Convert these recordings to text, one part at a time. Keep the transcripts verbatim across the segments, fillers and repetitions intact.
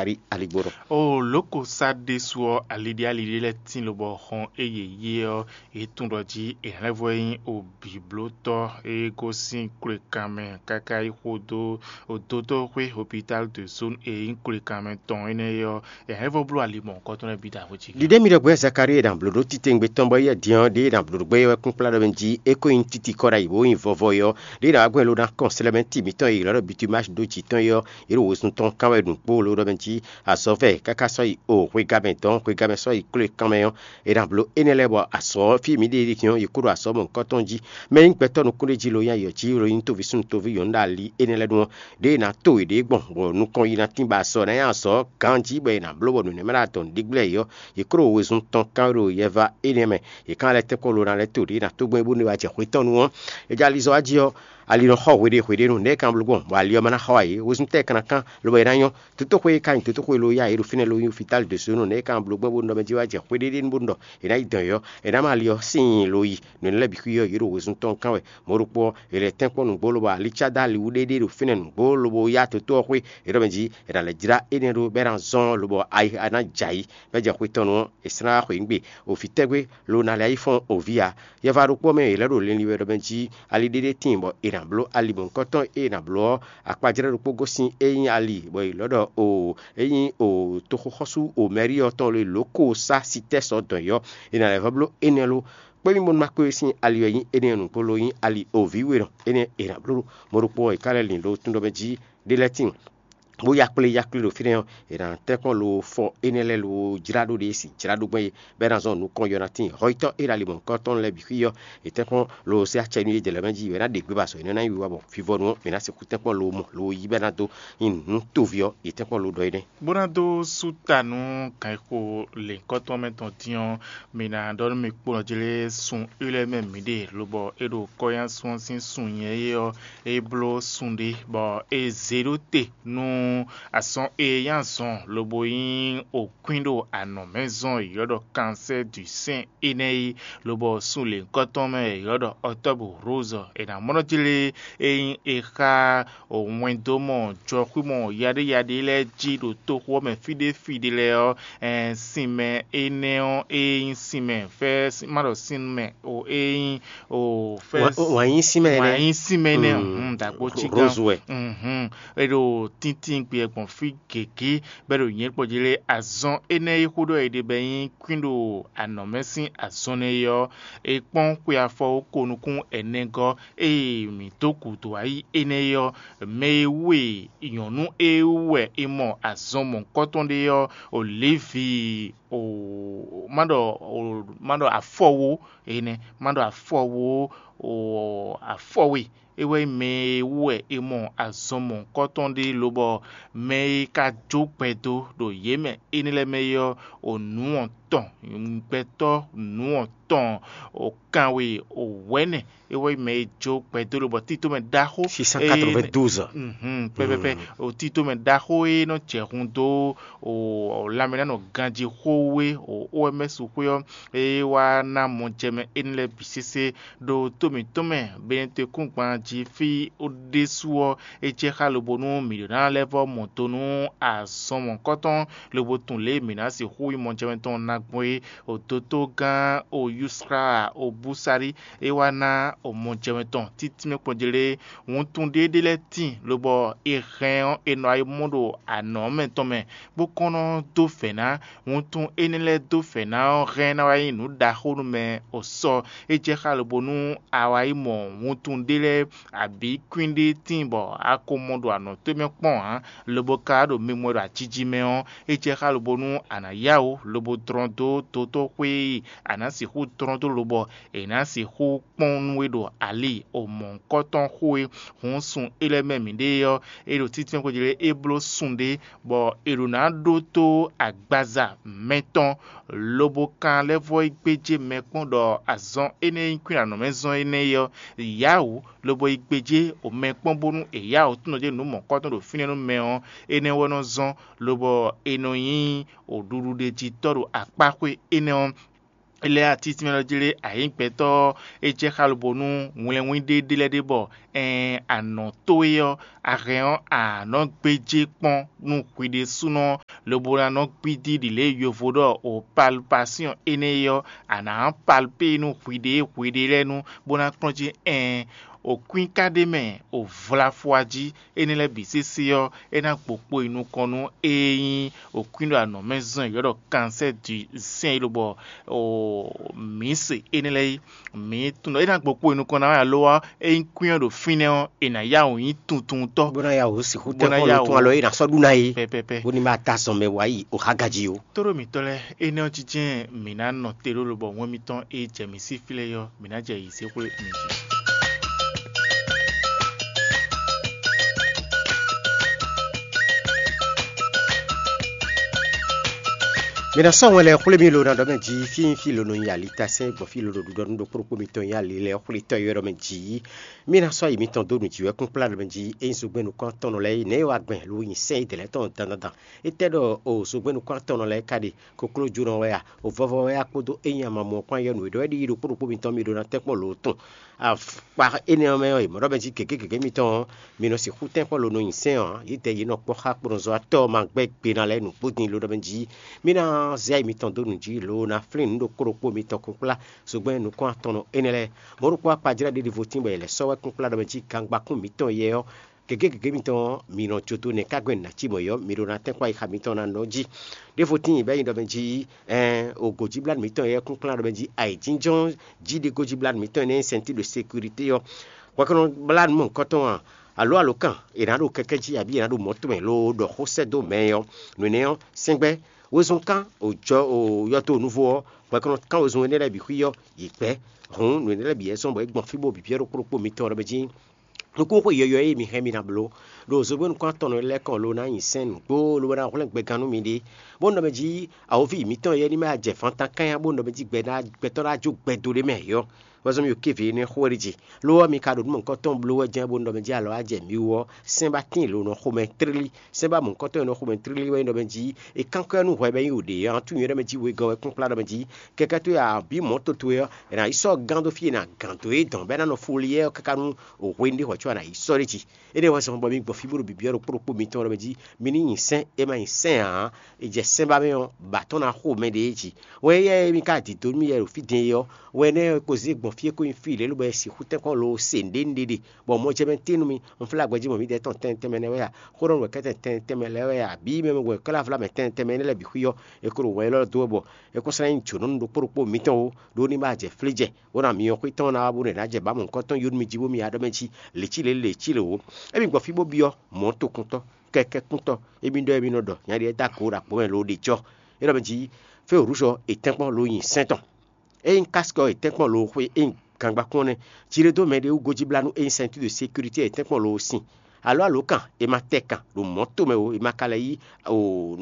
Zakari Aligbóɖɔ. O lǒko sá ɖésú ɔ́, aliɖí aliɖí lɛ́ɛ tín lobɔ xɔn e yě yí ɔ́, yě tunwun ɖɔ jí è nǎ lɛ́ vɔ nyí o bǐblótɔ́ e gosín kwlekanmɛ káká yi xo dó o dótɔ́xwé hopitál de zone e nyí kwlekanmɛ tɔn énɛ́ é ɔ́, è nǎ lɛ́ vɔ bló ali mɔ̌hunkɔtɔn lɛ́ɛ bǐ ɖo axwé jí. Ɖiɖe mi ɖɔ gbɛ Zakari e ɖo blǒ ɖó titewungbe tɔn bɔ éyɛ́ din ɔ́, ɖěe è nǎ blǒ ɖó gbɛ é wɛ kpínkplá ɖɔ mɛ jí é ko nyí títí kɔ ɖ'ayǐ bó nyí vɔvɔ é ɔ́, ɖěe è nǎ wá gbɛn lo ná kɔn slɛ́mɛ ti mǐtɔn e è ylɔ́ ɖɔ bitumasi ɖó jǐ tɔn é ɔ́, yě ɖo wezun tɔn kán wɛ ɖo nǔkpó ló ɖɔ mɛ jí azɔ̌ vɛ káká sɔ́ yi o hwegǎmɛ dɔn hwegǎmɛ sɔ́ yi kló e kanmɛ ɔ́, è nǎ bló énɛ́ lɛ́ɛ bɔ azɔ̌ fí e mǐ ɖe é ɖíe din ɔ́, yě kó ɖo azɔ̌ mɔ̌hunkɔtɔn jí. Mɛ e nyí gbɛtɔ́ nukúnɖéjí lo nyí ayɔ̌ jí lo nyí tóví súnnu tóví nyɔ̌nu ɖo ali énɛ́ lɛ́ɛ nu ɔ́, ɖěe è nǎ to yěɖée gbɔn bɔ nukɔn yi ná tín bɔ azɔ̌ ná nyí azɔ̌ ganjí bɔ è nǎ bló bɔ nǔnɛ́mɛ́ ɖo adɔn ɖígblɛ́ yě ɔ́, yě kó ɖo wezun tɔn kán ɖo yɛva énɛ́ mɛ. Yě kán lɛ́ tɛ́nkpɔ́n lo ná lɛ́ to ɖě ná tó gbɛn bónú é wá jɛ xwé tɔn nu ɔ́, é jɛ ali zɔ wá jí ɔ́, ali nɔ xɔ hweɖé hweɖé nu nɛ̌ kan bló gbɔn, bɔ ali ɔ́ ma ná xɔ ǎ é, wezun tɛ́ kan ná kán, lobo é ná nyɔ́. Tótóxwe e ka nyí tótóxwe lo yá yě ɖo fínɛ́ lo nyí fitali ɖě sú nú nɛ̌ kan bló gbɔn bónú ɖɔ mɛ jí wá jɛ xwé ɖé ɖé nu bónú ɖɔ è nǎ yi dɔn yɔ̌, è nǎ ma ali ɔ́ sín nyi lo yi, nǔ énɛ́ lɛ́ɛ bǐ xwí ɔ́, yě ɖo wezun tɔn kán wɛ. Mɔ̌ ɖokpó ɔ́, è lɛ̌ tɛ́nkpɔ́n nǔgbó lobo ali cá dó ali wú ɖéɖé ɖo fínɛ́ nǔgbó lobo yá tótó ɔ́ xwé, è ɖɔ mɛ jí è nǎ lɛ́ jlá énɛ́ ɖó bɔ é ná zɔ́n lobo ayi ná jɛ ayǐ, bɔ é jɛ xwé tɔn nu ɔ́, è sɛ́n ná wá xweyǐgbe. O vǐ tɛ́gbe lo ná lɛ́ yi fɔ́n o vǐ ǎ. Yɛva ɖokpó mɛ è lɛ́ ɖo linlin wɛ ɖɔ mɛ jí ali ɖéɖé tíin bɔ è nǎ bló ali mɔ̌hunkɔtɔn e è nǎ bló ɔ́, akpajlɛ́ ɖokpó gosín é nyí ali, bɔ è lɔ̌ ɖɔ o é nyí o toxoxɔ́sú o mɛ̌rí ɔ́ tɔn lo e lǒ ko sá sitɛ́ sɔ dɔn yɔ́, è nǎ lɛ́ vɔ́ bló énɛ́ lo. Kpé mì bónú ma kpé we sín ali wɛ nyí énɛ́ nukpó lo nyí ali o vǐ we nɔ énɛ́ è nǎ bló ɖo mɔ̌ ɖokpó ɔ́, è ka lɛ́ lin ɖo tún ɖɔ mɛ jí ɖé lɛ́ɛ tíin. Bó ya kplé ya kplé ɖo fínɛ́ ɔ́, è nǎ tɛ́nkpɔ́n lo fɔ énɛ́ lɛ́ɛ lo jlá ɖó ɖě si jlá ɖó gbɛ́ é, bɔ é ná zɔn nukɔn yɔ ná tíin. Hɔyítɔ́ e ɖo ali mɔ̌hunkɔtɔn lɛ́ɛ bǐ xwí ɔ́, è tɛ́nkpɔ́n lo sé acɛ nú yě jɛ lɛ̌ mɛ jí, è nǎ ɖe gbé ba azɔ̌ énɛ́ ná nyi wiwa bɔ vivɔnu ɔ́, è nǎ sixú tɛ́nkpɔ́n lo mɔ lo yí bɔ é ná dó nyi nǔ toví ɔ́, è tɛ́nkpɔ́n lo ɖɔ énɛ́. Bó ná dó sú ta nú ganxixo lěhunkɔtɔn mɛ tɔn dín ɔ́, mi ná ɖɔ nú mì kpɔ́n jí lé sun Ilɛ́ mɛ mǐ ɖe, lobɔ é ɖo kɔ́yánsún ɔ́ sín sun nyɛ é ɔ́, é bló sun ɖé, bɔ è zě ɖó te nú azɔn e nyí azɔn lobo nyí okwín ɖo anɔ̌ mɛ zɔn e è ylɔ́ ɖɔ kansɛ́ du sɛ́n énɛ́ é, lobɔ sun lěhunkɔtɔn mɛ e è ylɔ́ ɖɔ ɔtɔ́bǔ rózɔ è nǎ mlɔ́ jí lé é nyí è xá wɛndómɔ jɔxwímɔ yaɖéyaɖé lɛ́ɛ jí ɖo toxo ɔ́ mɛ fí ɖé fí ɖé lɛ́ɛ ɔ́, ɛn, sinmɛ énɛ́ ɔ́, é nyí sinmɛ fɛ́ má ɖɔ sinmɛ o, é nyí o fɛ́ Wǎn- wǎn yí sinmɛ énɛ́. Wǎn yí sinmɛ énɛ́ Mm. Ɔ́, dǎkpó cí gán. Rose wɛ. Mhm. É ɖo tíntín gbé gbɔn fí gěgé bɔ é ɖo nyɛ̌ kpɔ́ jí lé azɔn énɛ́ e xó ɖɔ è ɖe bɔ é nyí kwín ɖo anɔ̌ mɛ sín azɔn nɛ́ é ɔ́, è kpɔ́n xwe afɔ ko nukún ɛnɛgɔ́ e mǐ dó gǔdo ayí énɛ́ é ɔ́, mɛ e wú e nyɔ̌nu e wú wɛ è mɔ azɔn mɔ̌hunkɔtɔn ɖé ɔ́, o Levi o má ɖɔ o má ɖɔ afɔwo énɛ́, má ɖɔ afɔwo o afɔwe é wɛ nyí mɛ e wú wɛ è mɔ azɔn mɔ̌hunkɔtɔn ɖé lobɔ mɛ e ka jó gbɛdo ɖo yě mɛ énɛ́ lɛ́ɛ mɛ é ɔ́, o nǔ ɔ́ tɔn, gbɛtɔ́ nǔ ɔ́ tɔn, o kanwe o wɛ̌nɛ é wɛ nyí mɛ e jó gbɛdo lobɔ tító mɛ ɖaxó six cent quatre-vingt-douze. Mhm, pɛpɛpɛ. O tító mɛ ɖaxó e nɔ jɛ hun dó o lanmɛnánɔ ganjí xó wú é, o O M S xwé ɔ́, é wá ná mɔjɛmɛ énɛ́ lɛ́ɛ bǐ sésé ɖo tó mǐtɔn mɛ, Benɛtekúngban jí fí ɖésú ɔ́, é jɛ xá lobo nú mǐ ɖó ná lɛ́ vɔ́ mɔ do nú azɔn mɔ̌hunkɔtɔn, lobo tunwun lě e mǐ ná sixú yi mɔjɛmɛ tɔn ná gbɔn é. O dotogán o Yusra o Búsarí é wá ná o mɔjɛmɛ tɔn títí mɛ kpɔ́n jlé wuntun ɖé ɖé lɛ́ɛ tíin, lobɔ è hɛn ɔ́, è nɔ yi mɔ ɖo anɔ̌ mɛ tɔn mɛ, bó kɔn nɔ dó vɛ̌ ná. Wuntun énɛ́ lɛ́ɛ dó vɛ̌ ná ɔ́ hɛn ná wá nyí nǔ ɖaxó nú mɛ o sɔ. É jɛ xá lobo nú a wá yi mɔ wuntun ɖé lɛ́ɛ abǐ kwín ɖé tíin bɔ a ko mɔ ɖo anɔ̌ towe mɛ kpɔ́n ǎ, lobo ka ɖo mimɔ ɖo ajiji mɛ ɔ́, é jɛ xá lobo nú a nǎ yá wǔ lobo dlɔ́n dó dotóxwé e a nǎ sixú dlɔ́n dó lobɔ è nǎ sixú kpɔ́n nú we ɖo ali o mɔ̌hunkɔtɔn xó e hun sun é lɛ́ɛ mɛ mǐɖée ɔ́, é ɖo títínmɛ xwé jí lé é bló sun ɖé, bɔ è ɖo ná ɖótó agbaza mɛtɔn, lobo kan lɛ́ vɔ́ yi gbéjé mɛ kpɔ́n ɖɔ azɔn énɛ́ e nyí kwín anɔ̌ mɛ zɔn énɛ́ é ɔ́, yǎwǔ, lobo yi gbéjé o mɛ kpɔ́n bónú è yá wǔ tunɔ jɛ nǔ mɔ̌hunkɔtɔn ɖo fínɛ́ nú mɛ ɔ́, énɛ́ wɛ nɔ zɔ́n, lobɔ è nɔ nyí o ɖuɖuɖejitɔ́ ɖo akpáxwé énɛ́ ɔ́. lɛ́ɛ atítínmɛ ɔ́ jlé ayǐ gbɛtɔ́ ɔ́, é jɛ xá lobo nú wlɛnwín ɖé ɖé lɛ́ɛ ɖé bɔ ɛɛn anɔ̌ towe ɔ́, a hɛn ɔ́, a nɔ́ gbéjé kpɔ́n nú hwi ɖésúnɔ, lobo ná nɔ́ gbídí ɖi lě e yovo ɖɔ o palpasíɔn énɛ́ é ɔ́, a nǎ palpé nú hwiɖée hwiɖée lɛ́ɛ nu, bó ná kplɔ́n jí ɛɛn o kwín ka ɖ'é mɛ o vlafɔ jí. Énɛ́ lɛ́ɛ bǐ sésé ɔ́, é ná gbo kpo yi nukɔn nú ée nyí o kwín ɖo anɔ̌ mɛ zɔn e yɔ̌ ɖɔ kansɛ́ du sɛ́n é lobɔ o mǐ se énɛ́ lɛ́ɛ é. Mǐ tunwun ɖɔ é ná gbo kpo yi nukɔn ná wɛ alo ɔ́, ényí kwín ɔ́ ɖo fínɛ́ ɔ́, è nǎ yá wǔ nyí tuntuntɔ́. Bó ná yá wǔ sixú bó ná tɛ́nkpɔ́n yá lǒ tún wǔ alɔ é ná sɔ́ ɖu ná é. Pɛpɛpɛ. Bó ní ma ta zɔn mɛ wá yi o xá gají ó. Tóɖó mǐtɔn lɛ́ɛ, énɛ́ ɔ́ jínjɛ́n mǐ ná nɔ te ɖó lobɔ wɛn mitɔn e jɛ mǐ sí flɛ́ é ɔ́, mǐ ná jɛ yǐ zé xwé mi jí. Mi ná sɔ́ wɛn lɛ́ɛ xwlé mi lo ná ɖɔ mɛ jí fí nyí fí lo nɔ nyi alitasɛ́n gbɔn fí lo ɖo ɖuɖɔ nú ɖokpó ɖokpó mitɔn nyi ali lɛ́ɛ xwlé tɔ́ yɔ́ ɖɔ mɛ jí. Mi ná sɔ́ yi mitɔn dó nǔ jí wɛ kúnkplá ɖɔ mɛ jí é nyí zogbɛ́n nukɔn tɔn nɔ lɛ́ɛ yi nɛ̌ wa gbɛn lo nyi sɛ́n yi dɛ̌ lɛ́ɛ tɔn dandandan. Étɛ́ ɖɔ o zogbɛ́n nukɔn tɔn nɔ lɛ́ɛ ka ɖe koklójónɔ wɛ a? O vɔvɔ wɛ a kpódó é nyi amamɔ kpán yɔ́ nǔ e ɖɔ wɛ ɖi ɖokpó ɖokpó mitɔn mi ɖó ná tɛ́nkpɔ́n lo tɔn. Akpa énɛ́ ɔ́ mɛ ɔ́, è mɔ ɖɔ mɛ jí gěgé gěgé mitɔn ɔ́, mi nɔ sixú tɛ́nkpɔ́n lo nɔ nyi sɛ́n ɔ́, yědɛɛ yě nɔ kpɔ́ xá kplɔ́nzɔ́watɔ́ ɔ́ ma gbɛ́ gbe ná lɛ́ɛ nǔgbó din lo ɖɔ mɛ jí. Mí ná zɛ ayi mitɔn dó nǔ jí lo ná flín nǔ ɖokpó ɖokpó mitɔn kúnkplá zogbɛ́n nukɔn atɔnnɔ énɛ́ lɛ́ɛ. Mɔ̌ ɖokpó akpajlɛ́ ɖěɖivo tíngbɔ è lɛ̌ sɔ́ wɛ kúnkplá ɖɔ mɛ jí gangba kún mǐtɔn yɛ ɔ́, gěgé gěgé mitɔn ɔ́, mi nɔ jó dó nɛ̌ ká gbɛn nǎ cí mɔ̌ ɔ́, mi ɖó ná tɛ́nkpɔ́n ayixa mitɔn ná nɔ jí. Ɖěvo tíin bɛ́ nyi ɖɔ mɛ jí ɛɛn, o gǒjíblánú mǐtɔn e yɛ kúnkplán ɖɔ mɛ jí ayǐjínjɔ́n jí ɖe gójíblánú mǐtɔn énɛ́ nyí sɛntín ɖo sekirité ɔ́. Hwɛkɔnɔ blánú mɔ̌hunkɔtɔn a? Alǒ alǒkan è nǎ ɖo kɛkɛ́ jí abǐ è nǎ ɖo mɔ̌ tɔn mɛ loo ɖɔ xó sɛ́ dó mɛ ɔ́, nǔ énɛ́ ɔ́, sɛ́ngbɛ́ wezun kán o jɔ o yɔ́ dó nǔvo ɔ́, hwɛkɔnɔ kán wezun énɛ́ lɛ́ɛ bǐ xwí ɔ́, yě gbɛ́. Hǔn nǔ énɛ́ lɛ́ɛ bǐ wɛ zɔ́n bɔ é gbɔn fí bó bǐ byɔ́ ɖokpó ɖokpó mitɔn ɔ́ ɖɔ mɛ jí nukúnxwe yɔ̌yɔ́ e mi hɛn mi ná bló ɖo zogbɛ́nukún atɔnnɔ lɛ́ɛ kɔn lo ná nyi sɛ́n nǔgbó lobo ná hwlɛ́n gbɛgán nú miɖée, bó nɔ mɛ jí awǒvi mǐtɔn yɛ́ ní ma jɛ fantan kányá bó nɔ mɛ jí gbɛtɔ́ ná jó gbɛdo ɖé mɛ yɔ́. Wɛzɔ́n mi ɖo kéve énɛ́ xó wɛ ɖi jí. Lo ɔ́, mi ka ɖo nǔ mɔ̌hunkɔtɔn bló wɛ jɛ́n bó nɔ mɛ jí alɔ wá jɛ mi wú ɔ́, sɛ́n ba tíin lo nɔ xomɛ tlílí. Sɛ́n ba mɔ̌hunkɔtɔn e nɔ xomɛ tlílí wɛ nyí ɖɔ mɛ jí è kánkɔ́ nú hwɛ bɔ é nyí wǒ ɖě ɔ́, tún nyɔ̌ɖɔ mɛ jí wegɔ́ wɛ kpínkplá ɖɔ mɛ jí kɛkɛ́ tó ya bǐ mɔ̌ toto ɔ́, è nǎ yi sɔ́ gán dó fí e è nǎ gǎn dó é dɔn bɔ é ná nɔ foli yɛ ɔ́ káká nú hwenu ɖé hwɛ̌ có a nǎ yi sɔ́ ɖ'é jí. Énɛ́ wɛ zɔn bɔ mi gbɔ fí bó ɖo bǐbyɔ́ ɖokpó ɖokpó mitɔn ɖɔ mɛ jí mi ní nyi sɛ́n, é ma nyi sɛ́n ǎ, è jɛ sɛ́n ba mɛ ɔ́, bǎ tɔn ná xo mɛɖée jí. Wɛ éyɛ́ e mi ka dǐdó nú mì yɛ ɖo fí din é ɔ́, wɛ énɛ́ ɔ́, è ko zé gbɔn fí e ko nyí fí lě lobo wɛ sixú tɛ́nkpɔ́n lo se nǔɖé nǔɖé ɖe, bɔ mɔ jɛ mɛ tín nú mi, un flá gbɛjí mɔ mǐdɛɛ tɔn tɛnmɛ tɛnmɛ nɛ́ wɛ a? Xó ɖɔ nǔ wɛ kɛ́tɛn tɛnmɛ tɛnmɛ lɛ́ɛ wɛ a? Bǐ mɛ wɛ kɛ́ lɛ́ vla mɛ tɛnmɛ tɛnmɛ énɛ́ lɛ́ɛ bǐ xwí ɔ́, è ko ɖo wɛn élɔ́ dó wɛ bɔ è ko slá nyí jǒnɔ nú ɖokpó ɖokpó mitɔn ó, ɖó ní ma jɛ flí jɛ, bó ná myɔ xwé tɔn ná wá bónú è nǎ jɛ bǎ mɔ̌hunkɔtɔn yó nú mi jí bó mi ya ɖɔ mɛ jí lě cí lě lě cí lě wǒ. Émi gbɔ fí bó byɔ́ mɔ̌ tokuntɔ́, kɛkɛ́kúntɔ́, émi ɖɔ émi nɔ ɖɔ nya ɖíe dó ago ɖo agbǒ mɛ lo ɖe jɔ. É ɖɔ mɛ jí fé wǔrúzɔ è tɛ́nkpɔ́n lo nyi sɛ́n tɔn. Ényí kásikɔ è tɛ́nkpɔ́n lo xwé ényí gangbá kún ɔ́ nɛ́, jí ɖé dó mɛɖé wú gojíblánú ényí sɛntído sekirité è tɛ́nkpɔ́n lo sin. Alǒ alǒkan è ma tɛ kan ɖo mɔ̌ tomɛ ó, è ma ka lɛ́ yí o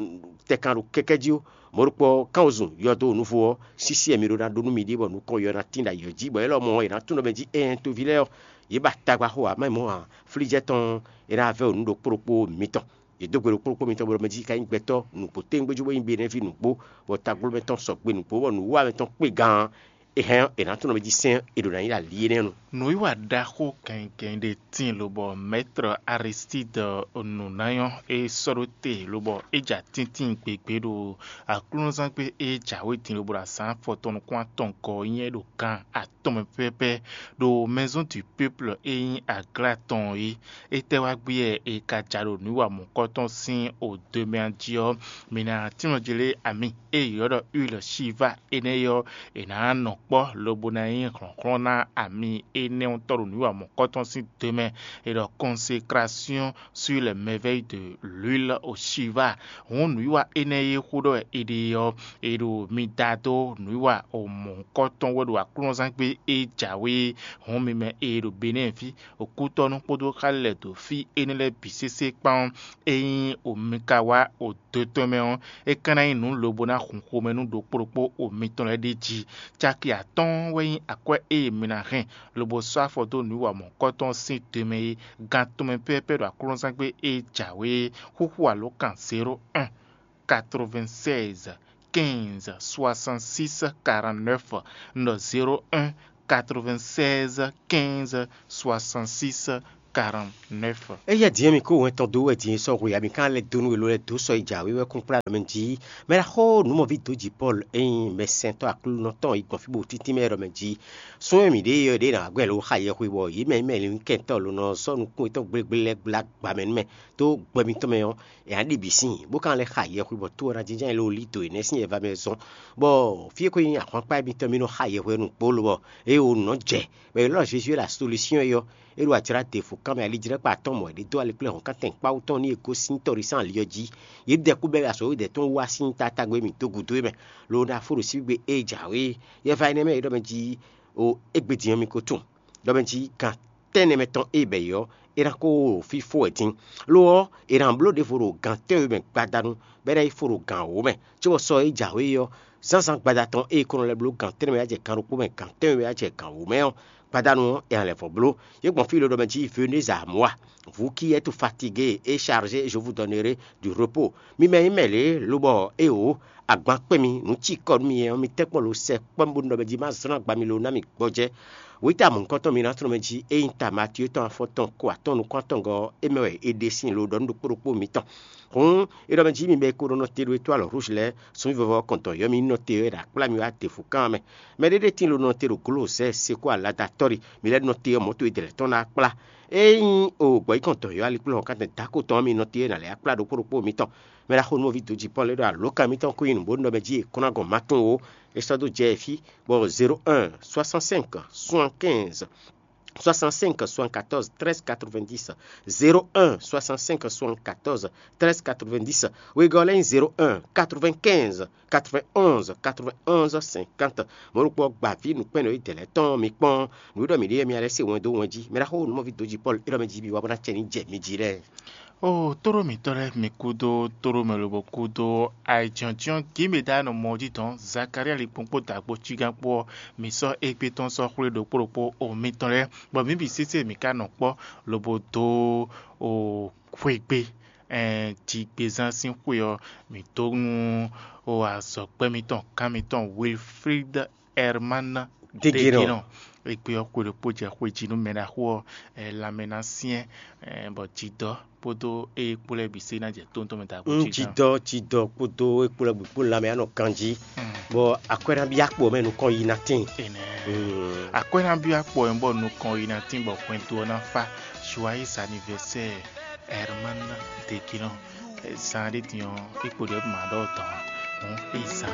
tɛ kan ɖo kɛkɛ́ jí ó. Mɔ̌ ɖokpó ɔ́, kánwezun yɔdo nuvo ɔ́, sísí wɛ mi ɖó ná ɖó nú miɖée bɔ nukɔn yɔ ná tín ɖo ayǐ ɔ́ jí, bɔ é lɔmɔ̌ è nǎ tunwun ɖɔ mɛ jí ɛɛn toví lɛ́ɛ ɔ́, yě ba tagba xo ǎ, má nyí mɔ̌ ǎ, flíjɛ́ tɔn ɔ́, é ná vɛ́ wǔ nú ɖokpó ɖokpó mitɔn. Yě dó gbe ɖokpó ɖokpó mitɔn bó ɖɔ mɛ jí é ka nyí gbɛtɔ́ nǔgbó téwúngbéjú bó nyí Benɛ́ví nǔgbó, bɔ taglomɛ tɔn sɔgbe nǔgbó, bɔ nǔwiwa mɛ tɔn kpé gan ɔ́, é hɛn ɔ́, è nǎ tunwun ɖɔ mɛ jí sɛ́n ɔ́, è ɖǒ ná nyí ɖo ali énɛ́ nu. Nǔwiwa ɖaxó gɛngɛn ɖé tíin lobɔ Mɛ́trɔ Aristídi nǔnáyɔ́ é sɔ́ ɖó te lobɔ é ja tíntín gbegbé ɖo aklúnɔzángbe e jǎwe din lobo ɖo azǎn afɔtɔn nukún atɔn gɔ́ nyɛ ɖo gan atɔn mɛ pɛ́pɛ́ ɖo Maison du Peuple e nyí aglá tɔn é. Étɛ́ wá gbé wɛ è ka ja ɖo nǔwiwa mɔ̌kɔ́tɔn sín odǒmɛ jí ɔ́, mi ná tínmɛ jlé ami e è ylɔ́ ɖɔ huile shiva énɛ́ ɔ́, è nǎ nɔ kpɔ́ lobo ná nyí hlɔ̌nhlɔ́n ná ami énɛ́ ɔ́ tɔ́ ɖo nǔwiwa mɔ̌kɔ́tɔn sín dǒmɛ. È ɖɔ consécration sur les merveilles de l'huile au shiva. Hǔn nǔwiwa énɛ́ e xó ɖɔ wɛ è ɖe ɔ́, è ɖo mi da dó nǔwiwa mɔ̌hunkɔtɔn wɛ ɖo aklúnɔzángbe e jǎwe. Hǔn mi mɛ e ɖo Benɛ́ɛ fí, okútɔ́nú kpódó xá lɛ́ɛ dó fí énɛ́ lɛ́ɛ bǐ sésé kpán ɔ́, ényí mi ka wá odo tɔn mɛ ɔ́, é ka ná nyí nǔ lobo ná hun xomɛ nú ɖokpó ɖokpó o mitɔn lɛ́ɛ ɖ'é jí. Caki atɔ́ɔ́n wɛ nyí akwɛ́ e mi ná hɛn lobo sɔ́ afɔ dó nǔwiwa mɔ̌kɔ́tɔn sín do mɛ é, gan tɔn mɛ pɛ́pɛ́ ɖo aklúnɔzángbe e jǎwe é. Xúxú alǒkan zéro un, quatre-vingt-seize, quatre-vingt-quinze soixante-six quarante-neuf, un ɖɔ zéro un quatre-vingt-seize quinze soixante-six quarante-neuf. Eya din mi kó wɛn tɔn dó wɛ din sɔ́ hwe, ami kan lɛ dó nú welo lɛ dó sɔ yi jǎwe wɛ kún kplá ɖɔ mɛ jí. Mɛ ɖaxó nǔmɔví dó jǐ Pɔ́lu e nyí mɛsɛntɔ́ Aklúnɔ tɔn yi gbɔn fí bó tíntín mɛ ɖɔ mɛ jí. Sún e mǐ ɖe ɔ́ ɖě nǎ gbɛn lo xa yɛhwe bɔ yě mɛ mɛ lǐnkɛntɔ́ ló nɔ sɔ́ nukún yětɔn gblégblé lɛ́ɛ gbla gbǎ mɛ nú mɛ dó gbɛ mitɔn mɛ ɔ́, è nǎ ɖi bǐ sín, bó ka lɛ́ xa yɛhwe bɔ tó ɔ́ ná jínjɔ́n lo lí dǒ énɛ́ sín yɛva mɛ zɔn, bɔ fí e ko nyí ahwankpá mitɔn mì nɔ xa yɛhwe nukpó lobɔ ée wǒ nɔ jɛ, bɔ è lɔ́ Jezu e ɖo asolusyɔ́n é ɔ́, é ɖo ajlǎ ɖěvo kanmɛ alijlɛ́kpa atɔ́ɔ́n mɔ̌ é ɖe dó alekplɛ́hɔ̌nkántɛn kpáwú tɔn nú è gosín tɔɖisán ali ɔ́ jí. Yě dɛ kú bɛ́ asɔ̌wédɛ̌ tɔn wá sín tatágbé mì dó gǔdo é mɛ, lo ná fó ɖo sígbé ée jǎwe. Yɛva énɛ́ mɛ e ɖɔ mɛ jí o égbé din ɔ́ mi ko tunwun, ɖɔ mɛ jí gan tɛ́nnɛ mɛ tɔn e bɛ̌ yi ɔ́, é ná kó fí fó wɛ din. Lo ɔ́, è nǎ bló ɖěvo ɖo gan tɛ́nwe mɛ gbadanu, bɔ é ná yi fó ɖo gan wǒ mɛ, cóbɔ sɔ e jǎwe é ɔ́, zǎnzǎn gbada tɔn e è ko nɔ lɛ́ bló gan tɛ́nnɛ mɛ wá jɛ gan ɖokpó mɛ, gan tɛ́nwe mɛ wá jɛ gan wǒ mɛ ɔ́, gbadanu ɔ́, è nǎ lɛ́ vɔ́ bló. Yě gbɔn fí lě ɖɔ mɛ jí Venez à moi, vous qui êtes fatigué et chargé, je vous donnerai du repos. Mi mɛ nyí mɛ lě, lobɔ éeǒ, agban kpɛ́n mi, nǔ cikɔ nú mi ɔ́, mi tɛ́nkpɔ́n lo sɛ kpɔ́n bónú ɖɔ mɛ jí má zlɔ́n agba mi lo ná mi gbɔjɛ́. Wěta mɔ̌hunkɔtɔn mi ná tlɔ́n mɛ jí é nyí ta Matyuu tɔn afɔtɔn ko atɔn nukún atɔngɔ́ ɔ́, é mɛ wɛ è ɖe sín lo ɖɔ nú ɖokpó ɖokpó mitɔn. Hǔn é ɖɔ mɛ jí mi mɛ e ko ɖo nɔ te ɖo é tó alɔ rouge lɛ́ɛ, sunví vɔvɔ kɔn dɔ̌n yɔ́ mi nɔ te ɔ́, é ɖo akplá mi wá ɖěvo kán mɛ. Mɛ ɖé ɖé tín lo nɔ te ɖo glozɛ́ seko aladatɔ́ ɖi, mi lɛ́ nɔ te ɔ́, mɔ̌ towe dlɛ̌ tɔn ná kplá. Ényí o gbɔ̌ yí kɔn dɔ̌n yɔ́ aliklúhɔn kán dɛ̌n dǎko tɔn ɔ́, mi nɔ te ɔ́, é ná lɛ́ akplá ɖokpó ɖokpó mitɔn. Mɛ ɖaxó nɔví dó jǐ Pɔ́lu e ɖo alǒkan mǐtɔn kú nyi nǔ bó nɔ mɛ jí è kɔn ná gɔn ma tunwun ó. É sɔ́ dó jɛ fí, bɔ zéro un soixante-cinq soixante-quinze soixante-cinq soixante-quatorze treize quatre-vingt-dix, zéro un soixante-cinq soixante-quatorze treize quatre-vingt-dix, wegɔ́ lɛ́ nyí zéro un quatre-vingt-quinze quatre-vingt-onze quatre-vingt-onze cinquante. Mɔ̌ ɖokpó ɔ́, gba vǐ nǔkpɛ́nnɔ e dɛ̌ lɛ́ɛ tɔn mi kpɔ́n, nǔ e ɖɔ mǐ ɖe ɔ́, mi lɛ́ se wɛn dó wɛn jí. Mɛ ɖaxó nɔví dó jǐ Pɔ́lu e ɖɔ mɛ jí mi wá bó ná cɛ ní jɛ mi jí lɛ́ɛ. O tóɖó mǐtɔn lɛ́ɛ, mi kúdó tóɖó mɛ lobo kúdó ayǐjɔ́njɔ́n gǐmɛdánɔ mɔ jí dɔn Zakalía likpɔ́n kpó dǎgbó cígán kpó ɔ́, mi sɔ́ égbé tɔn sɔ́ xwlé ɖokpó ɖokpó o mitɔn lɛ́ɛ, bɔ mǐ bǐ sésé mǐ ka nɔ kpɔ́ lobo dó o xwegbe, ɛn, jigbezán sín xwe ɔ́, mǐ dó nú o azɔ̌gbɛ́ mitɔn, gán mitɔn Wilfrid Herman Degenɔ. Degenɔ. Égbé ɔ́ xwe ɖokpó jɛ xwe jí nú mɛ ɖaxó ɔ́, ɛ, lanmɛ ná syɛ́n, ɛ, bɔ jidɔ kpódó eye kpó lɛ́ɛ bǐ sé ná jɛ tóntɔn mɛ dǎgbó jí. Jidɔ jidɔ kpódó ekpó lɛ́ɛ bǐ kpó lanmɛ anɔ kan jí, bɔ akwɛ́ ná byɔ́ akpo mɛ nukɔn yi ná tín. Enɛ. Akwɛ́ ná byɔ́ akpo ɔ́ bɔ nukɔn yi ná tín bɔ hwɛndo ɔ́ ná fá. Joyeux anniversaire, Herman Degenɔ. Zan ɖé din ɔ́, é kpo ɖě ma ɖɔ dɔn ǎ. Hǔn é zan